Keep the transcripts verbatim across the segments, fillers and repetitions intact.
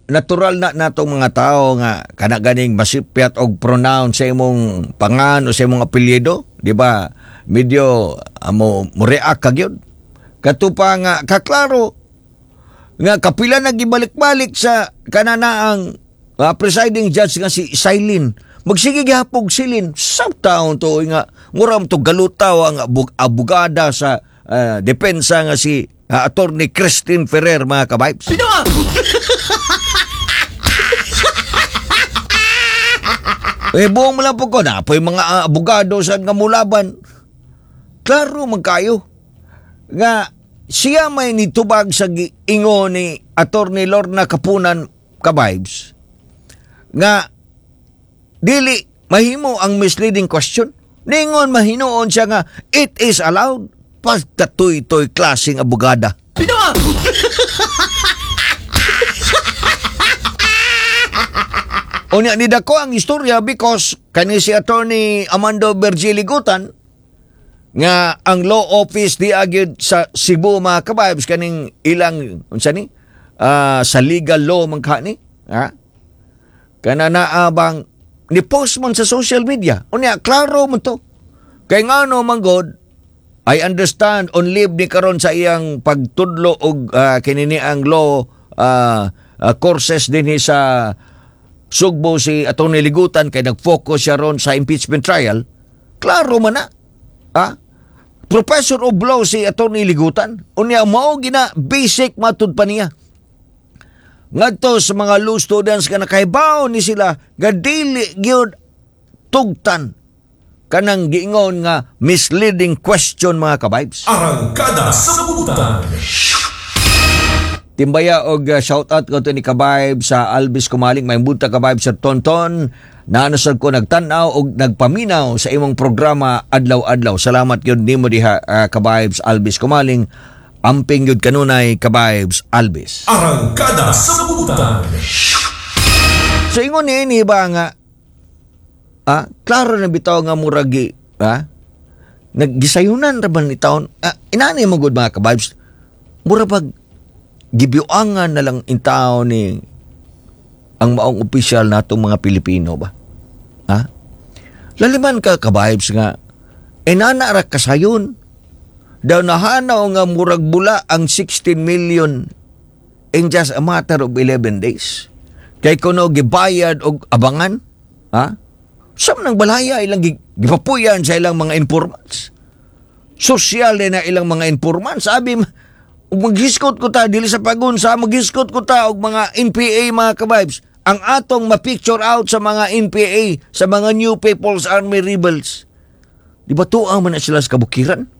natural na natong mga tao nga kana ganing masipyat og pronoun sa imong pangan o sa imong apelyido, di ba? Medyo amo mo react ka gyud. Kato pa nga kaklaro nga kapila na gibalik-balik sa kananaang uh, presiding judge nga si Silene. Magsige gihapog Silene sa taon to nga muram to galutaw ang abug abogada sa uh, depensa nga si uh, Attorney Christine Ferrer, mga kabibes. Sino? Eh, buong mo lang po ko na po yung mga uh, abogado sa nga mulaban. Klaro man kayo nga siya may nitubag sa giingon ni Attorney Lorna Kapunan, kabibes, nga dili mahimo ang misleading question. Ningon mahinuon siya nga it is allowed. Pagkatuy-toy klaseng abogada. Sino? Unya ni dako ang istorya because kani si Attorney Amando Virgil Ligutan nga ang law office di agyud sa Cebu, mga kabibes, kaning ilang unsa ni uh, sa legal law man ka ni, ha, kana naa bang ni post man sa social media. Unya klaro man to kay ngano man god, I understand on leave ni karon sa iyang pagtudlo og uh, kinini ang law uh, uh, courses dinhi sa Sugbo si Attorney Ligutan kay nag-focus siya ron sa impeachment trial. Klaro man na. Ha? Professor of law si Attorney Ligutan. Unya mao gina basic matud pa niya. Ngadto sa mga law students nga nakahibaw ni sila nga dili gyud tugtan kanang giingon nga misleading question, mga kabibes. Arangkada sa Butan. Timbaya og uh, shout out ko to ni Kabibes sa Alvis Kumaling. May bunta, Kabibes Sir Tonton. Naanasad ko nagtan-aw og nagpaminaw sa imong programa adlaw-adlaw. Salamat gyud nimo diha, uh, Kabibes Alvis Kumaling. Amping gyud kanunay, Kabibes Alvis. Arangkada sa Butan. So ingon ni ini ba nga ah, klaro na bitaw nga muragi ah, naggisayunan ra ba ni taon, ah, inani mo gud, mga kabibes, mura pag gibiuangan na lang in taon ni ang maong opisyal natong mga Pilipino ba? Ha? Laliman ka, kabibes, nga inana ra kasayon. Daw nahanaw nga murag bula ang sixteen million in just a matter of eleven days. Kay kuno gibayad og abangan, ha? Sa nang balaya ilang gipapuyan sa ilang mga informants. Sosyal na ilang mga informants. Sabi, ug maghiskot ko ta dili sa pagunsa, maghiskot ko ta og mga N P A, mga kabibes. Ang atong ma-picture out sa mga N P A, sa mga New People's Army rebels. Di ba tuang man na sila sa kabukiran?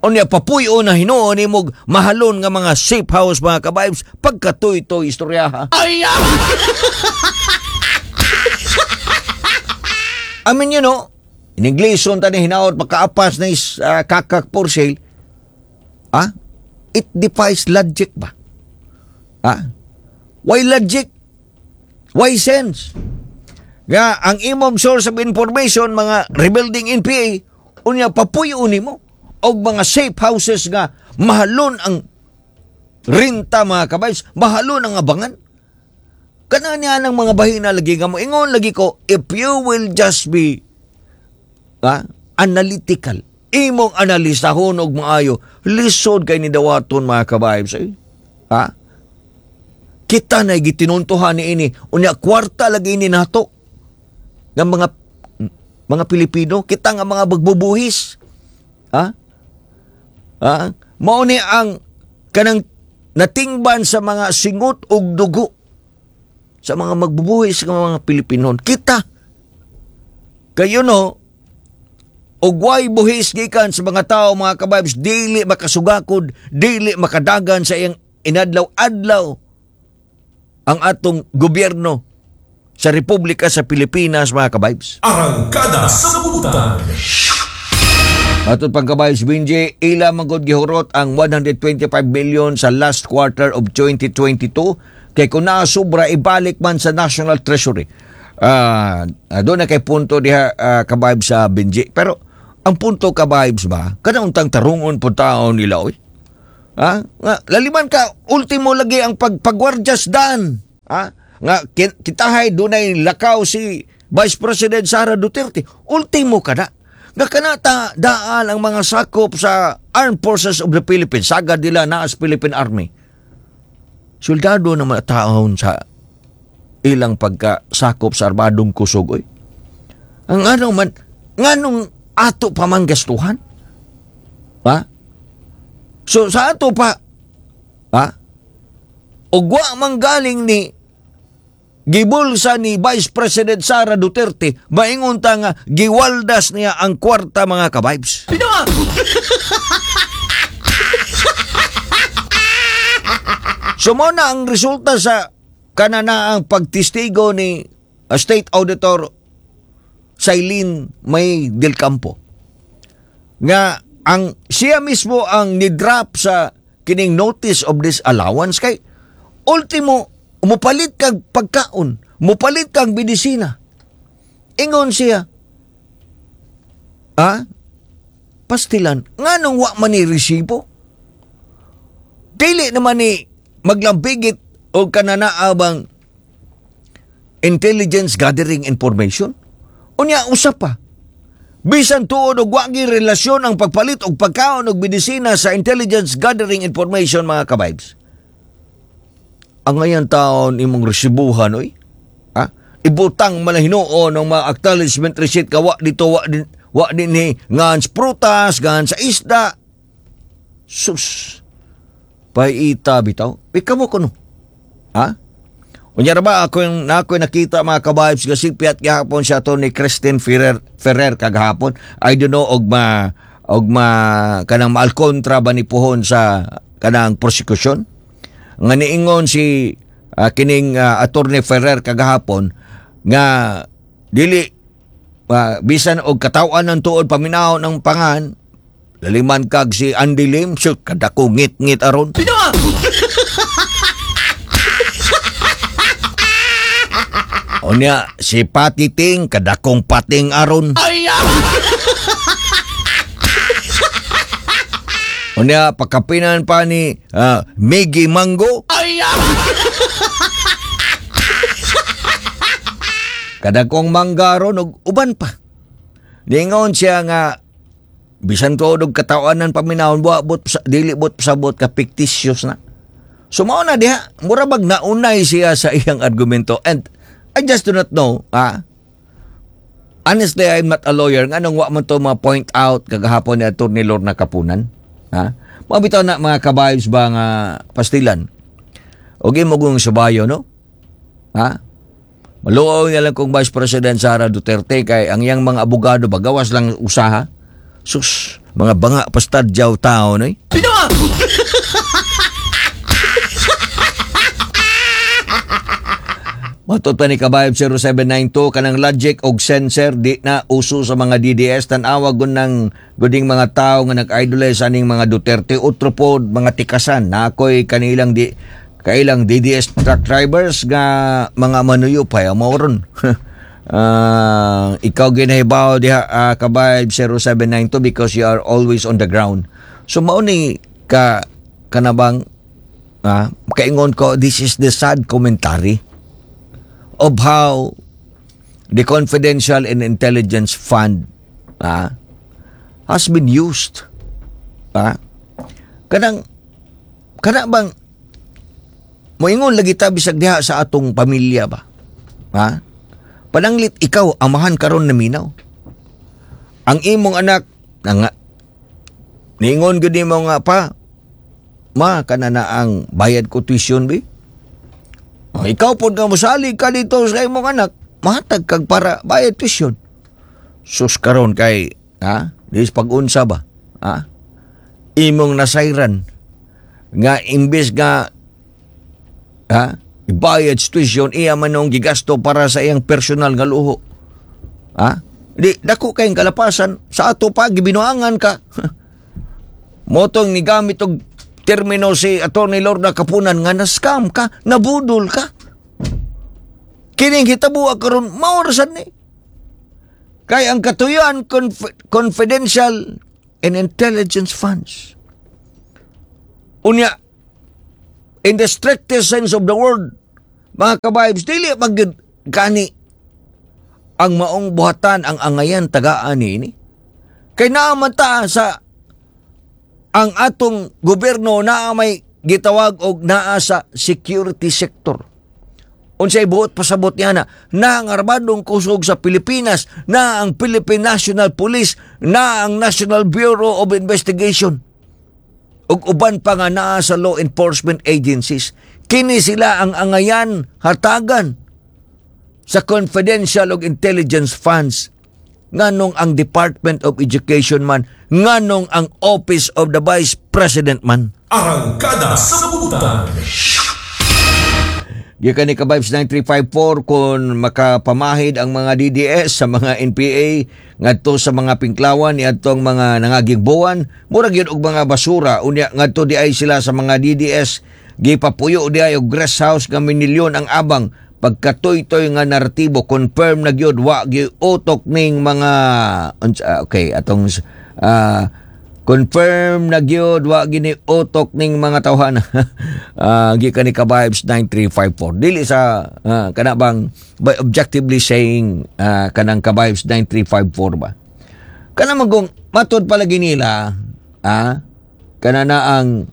Unya papuyo na hinuon nimog mahalon nga mga safe house, mga kabibes, pagkatuy-toy istorya ha. Ay! I mean, you know, in English, ta ni hinaot makaapas na is uh, kakak for sale. Ah? It defies logic ba? Ah? Why logic? Why sense? Nga, ang imong source of information, mga rebuilding N P A, unya papuyo nimo og mga safe houses nga mahalon ang renta, mga kabays, mahalon ang abangan. Kana niya ng mga bahina lagi nga mo ingon lagi ko, if you will just be ah, analytical, imong analisahon og maayo, lisod kay ni dawaton, mga kabaybs. Eh? Ha? Kita na gitinuntuhan ni ini, unya kwarta lagi ini nato nga mga mga Pilipino, kita nga mga bagbubuhis. Ha? Ha? Mao ni ang kanang natingban sa mga singot og dugo sa mga magbubuhis nga mga Pilipinon. Kita kayo no, og way buhis gikan sa mga tao, mga kabibes, dili makasugakod, dili makadagan sa iyang inadlaw-adlaw ang atong gobyerno sa Republika sa Pilipinas, mga kabibes. Arangkada sa Butan. Atong pagkabibes, Benji, ila magod gihurot ang one hundred twenty-five million sa last quarter of twenty twenty-two kay kung naasubra ibalik man sa National Treasury. Ah, uh, doon na kay punto diha, uh, kabibes sa Benji. Pero ang punto, kabibes ba, kanang untang tarungon po taon nila oy. Ha? Nga, laliman ka, ultimo lagi ang pag-pagwardyas dan. Ha? Nga kitahay dunay lakaw si Vice President Sara Duterte. Ultimo kada. Nga kanata daan ang mga sakop sa Armed Forces of the Philippines. Sagad nila naa sa Philippine Army. Soldado na mga taon sa ilang pagkasakop sa armadong kusog. Oy. Ang ano man, nganong ato pa man gastuhan? Ha? So sa ato pa, ha? Ug wa man galing ni gibulsa ni Vice President Sara Duterte, maingon ta nga giwaldas niya ang kwarta, mga ka-vibes. So mao na ang resulta sa kananaang pagtestigo ni uh, State Auditor Sailin May Del Campo. Nga ang siya mismo ang ni-drop sa kining notice of disallowance kay ultimo mupalit kag pagkaon, mupalit kag medisina. Ingon siya, ah, pastilan, nganong wa man ni resibo? Dili naman ni maglambigit o kananaabang intelligence gathering information. Unya, usa pa. Bisan tuod og wa gi relasyon ang pagpalit og pagkaon og medisina sa intelligence gathering information, mga ka-vibes. Ang ngayon taon imong resibuhan oy. Ha? Ibutang man hinuon ng mga acknowledgement receipt ka wa dito wa din wa din ni ngan sa prutas, ngan sa isda. Sus. Paita bitaw. Ikaw mo kuno. Ha? Unya ra ba ako yung na ako nakita, mga ka-vibes, kasi piyat gihapon siya to ni Christine Ferrer Ferrer kagahapon. I don't know og ma og ma kanang maalkontra ba ni puhon sa kanang prosecution. Nga niingon si uh, kining uh, Attorney Ferrer kagahapon nga dili uh, bisan og katawan ng tuod paminaw ng pangan laliman kag si Andy Lim, shoot kadako ngit-ngit aron. Unya, si Patiting, kadakong pating aron. Unya, pagkapinan pa ni uh, Miggy Mango. Kadakong mangga aron, ug uban pa. Ningon siya nga, bisan tuod og katawanan paminahon, buwa, but, dili but sabot ka fictitious na. So mao na diha, mura bag naunay siya sa iyang argumento. And I just do not know, ah, honestly, I'm not a lawyer. Nganong wa man to ma-point out kagahapon ni Attorney Lorna Kapunan? Ha? Mabitaw na, mga ka-vibes ba nga pastilan? O mo kung subayo, no? Ha? Maluoy na lang kung Vice President Sara Duterte kay ang iyang mga abogado bagawas lang usaha. Sus, mga banga pastadyaw tao, no? Matod pa ni Kabayab zero seven nine two, kanang logic og sensor di na uso sa mga D D S. Tan-awa gun ng guding mga tao nga nag-idolize aning mga Duterte. Utro pod mga tikasan na ako'y kanilang di, kailang D D S truck drivers nga mga manuyo pa mauron. Uh, ikaw ginahibaw diha, uh, Kabayab zero seven nine two, because you are always on the ground. So mao ni ka kanabang uh, kaingon ko, this is the sad commentary of how the Confidential and Intelligence Fund ah, has been used. Ah, kanang, kana bang moingon lagi ta bisag diha sa atong pamilya ba? Ha? Pananglit ikaw amahan karon na minaw. Ang imong anak nga niingon gyud nimo nga pa ma kana na ang bayad ko tuition bi. Oh, ikaw pod nga mosalig ka dito sa imong anak, mahatag kag para bayad tuition. Sus karon kay ha, dis pag-unsa ba? Ha? Imong nasayran nga imbes nga ha, ibayad sa tuition iya man nung gigasto para sa iyang personal nga luho. Ha? Di dako kayong kalapasan sa ato pa gibinuangan ka. Motong ni gamit og termino si Attorney Lorna Kapunan nga na-scam ka, nabudol ka. Kining hitabo karon mao ra sad ni. Kay ang katuyuan conf- confidential and intelligence funds. Unya, in the strictest sense of the word, Mga ka-vibes, dili magyud gani ang maong buhatan ang angayan tagaan niini. Kay naa man ta sa ang atong gobyerno naa may gitawag og naa sa security sector. Unsay buot pasabot niya na na ang armadong kusog sa Pilipinas, na ang Philippine National Police, na ang National Bureau of Investigation ug uban pa nga naa sa law enforcement agencies. Kini sila ang angayan hatagan sa confidential ug intelligence funds nganong ang Department of Education man nganong ang Office of the Vice President man Arangkada sa buntag. Gikan ni Kabibes nine three five four, kung makapamahid ang mga D D S sa mga N P A ngadto sa mga pinklawan ni adtong mga nangagigbuan, murag yun og mga basura. Unya ngadto di ay sila sa mga D D S, gipapuyo di ay og rest house nga minilyon ang abang. Pagkatoy-toy nga naratibo, confirm na gyud wa gyud utok ning mga unsa- okay, atong ah, confirm na gyud wa gini utok ning mga tawhan. uh, gikan ni Kabibes nine three five four, dili sa ah, kana bang by objectively saying ah, kanang Kabibes nine three five four ba, kana magong matud palagi nila ah kana na ang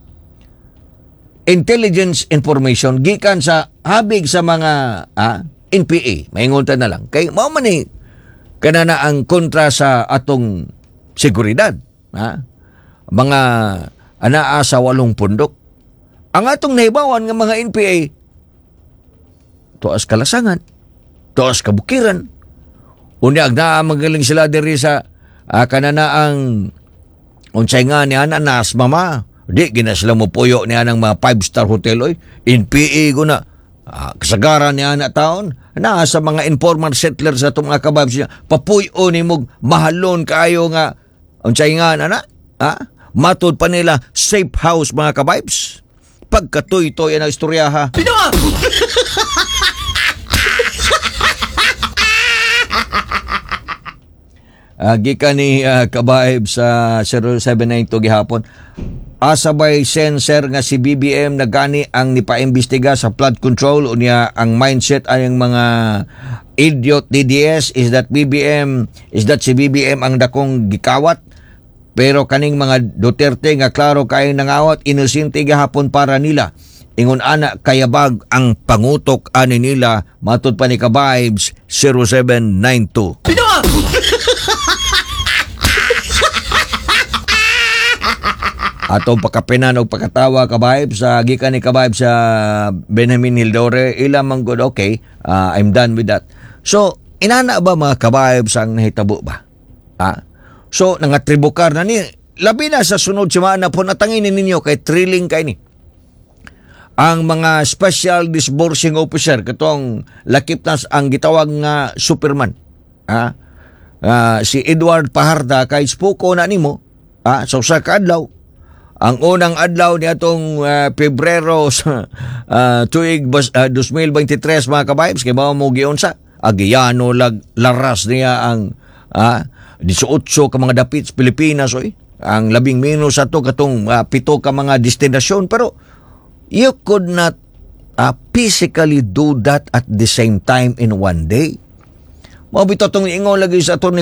intelligence information gikan sa habig sa mga ah, N P A. Maingon ta na lang kay mao man ni kana na ang kontra sa atong seguridad, ha, mga anaa sa walong pundok. Ang atong nahibawan nga mga N P A tuas kalasangan, tuas kabukiran. Unya naa magaling sila diri sa ah, kanana ang unsay nga ni ana nas mama. Di gina sila mo puyo ni anang mga five star hotel oy. N P A ko na. Ah, kasagaran ni ana taon na sa mga informal settlers sa atong mga kababs niya. Papuyo ni mo mahalon kaayo nga unsay nga ana, ha? Matud pa nila safe house, mga kabibes. Pagkatuy-toy ang istorya, ha. Pino! Uh, gikan ni uh, Kabaib sa zero seven nine two gihapon. Asa bay sensor nga si B B M na gani ang nipaimbestiga sa flood control? Unya ang mindset ay ang mga idiot D D S is that B B M is that si B B M ang dakong gikawat, pero kaning mga Duterte nga klaro kay nangawat, inosente gihapon para nila. Ingon ana kayabag ang pangutok ani nila, matud pa ni Kabibes zero seven nine two. Pino! Atong pakapinan og pakatawa, Kabayb, sa gikan ni Kabayb sa Benjamin Hildore, ila man good. Okay, uh, I'm done with that. So inana ba, mga kabayb, ang nahitabo ba, ha? So nangatribukar na ni labi na sa sunod semana po natangin ninyo kay thrilling kay ni ang mga special disbursing officer katong lakip na ang gitawag nga Superman, ha. Ah, si Edward Fajarda, kay spuko na nimo, ah, sa usa ka adlaw, ang unang adlaw ni atong uh, Pebrero sa uh, tuig bas, uh, twenty twenty-three, mga kabibes, kay mao mo giunsa agiyano lag laras niya ang ah eighteen ka mga dapit sa Pilipinas oy. Ang labing minus ato katong uh, pito ka mga destinasyon, pero you could not uh, physically do that at the same time in one day. Mao bitaw tong ingon lagi sa ato ni